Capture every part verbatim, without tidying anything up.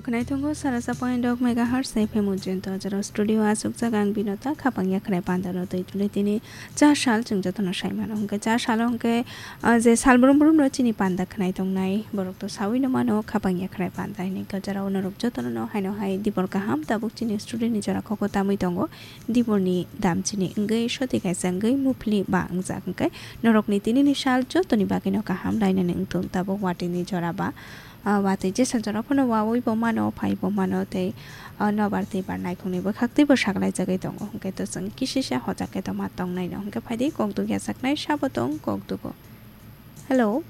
Khwnai tongo sara sa point dok megahertz F M ujento, jora studio asukjak ang Binota, khapang yakhrai pandano twi tuli tini cha sal chwng jotono sai mano. Hwnkhe cha salo hwnkhe, ah, je sal brum brum no chini panda khwnai tongnai, borok to sawi no mano, khapang yakhrai panda hinwi khe jora o norok jotono no haino hai dibor kaham tabuk chini studio ni jora khoko tamwi tongo. Diborni dam chini wngwi soti kaisa wngwi muphli ba wngjak hwnkhe norokni tinini sal jotoni bagwino kaham lainani wngthung tabuk watini jora ba, ah, watwi jesa jora phano wawi bo mano phai bo mano tei, ah, nobar tei bar naikhungni bwkhak teibo saklaijagwi tongo hwnkhe to chwng kisisa hojak khe tongma tongnaino hwnkhe phaidi kok duk yachaknai sabo tong kok dugo. Hello.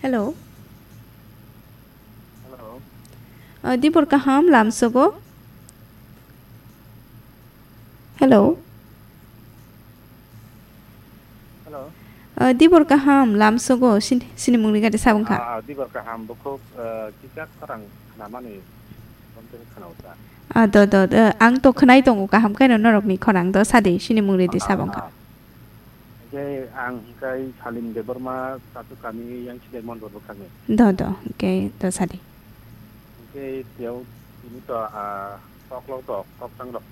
Hello. Hello. Ah, dibor kaham lamsogo. Hello. Hello. Ah, dibor kaham lamsogo sin-, sinimungni gari sabong kha. Ah, ah, dibor kaham bukhuk, ah, kichak khorang khnamani bonte khnaosa. Ah, do, do, do, ang to khnai tongo kaham khe no norokni khorang do sadi sinimungni di sabong kha. Ah, ah. Hingke ang hingkai Salim Debbarma Chachuk kami yang sidai Mondol bwkhakni. Do, do, hingke do sadi. Hingke tiyao tini to, ah, koklok rok, koktang rok.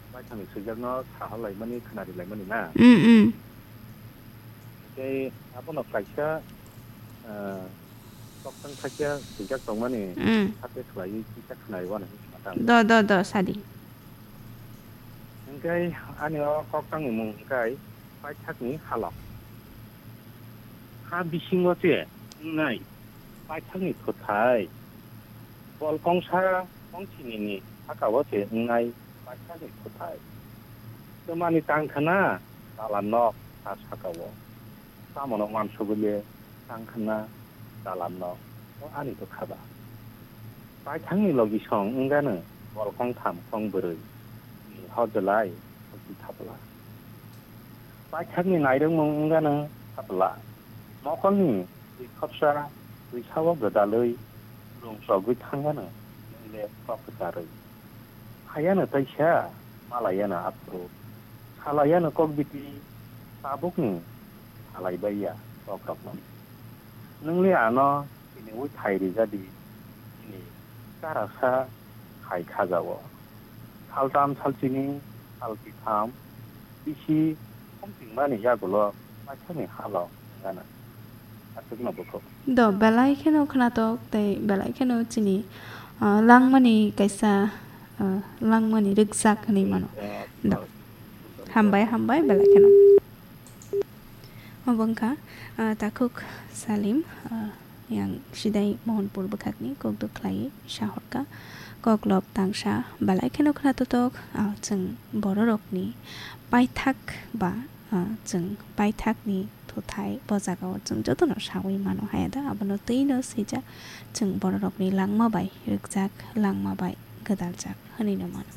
Baithangni swijakno saha laimani, khnari laimani na. Mm, mm. Hingke abono kaisa, ah, koktang thakya swijak tongmani, mm, hake khlaiwi kisa khnari wano hingke matang. Do, do, do, sadi. Hingke ani o koktangni mung hingkai paithakni halok. Ha bisingo se wngnai paithakni thuthai. Bol kongsa kongsinini sakao se wngnai paithakni thuthai. Twmani tang khna dalan nok ha sakao. Tamoni uansugwi le tang khna dalan no o ani bwkha ba. Paithakni logisong wngano bol kongtham kongbrwi ni hojlai hojwi thapla. Paithakni nairwkmung wngano thapla. Mokolni twi khopsa twisao gwdalwi rung chogwi thangano nwng le kok kwcharwi. Hayano taisa, malayano aphuru, salayano kokbiti, tabukni salai baiya kokrokno. Nwng le ano tiniwi thai rijadi, nini karasa hai khajao. Saltham salchini, salkitham, bisi khomchingmani yagulo paithakni halo wngano. Aswkno bukhuk. Do, belai kheno khnatok tei belai kheno chini, ah, langmani kaisa, ah, langmani rwkjak hinwi mano. Do. Hambai, hambai, belai kheno. Obo wngkha, ah, takhuk Salim, ah, yang sidai Mohanpur bwkhakni kokduk khlaiwi sahorkha. Koklop tangsa belai kheno khna totok, ah, chwng bororokni paithak ba, ah, chwng paithakni thuthai bo jagao chwng jotono sawi mano haya da, abono twino swijak chwng bororokni langma bai rwkjak, langma bai gwdaljak hwnwi no mano.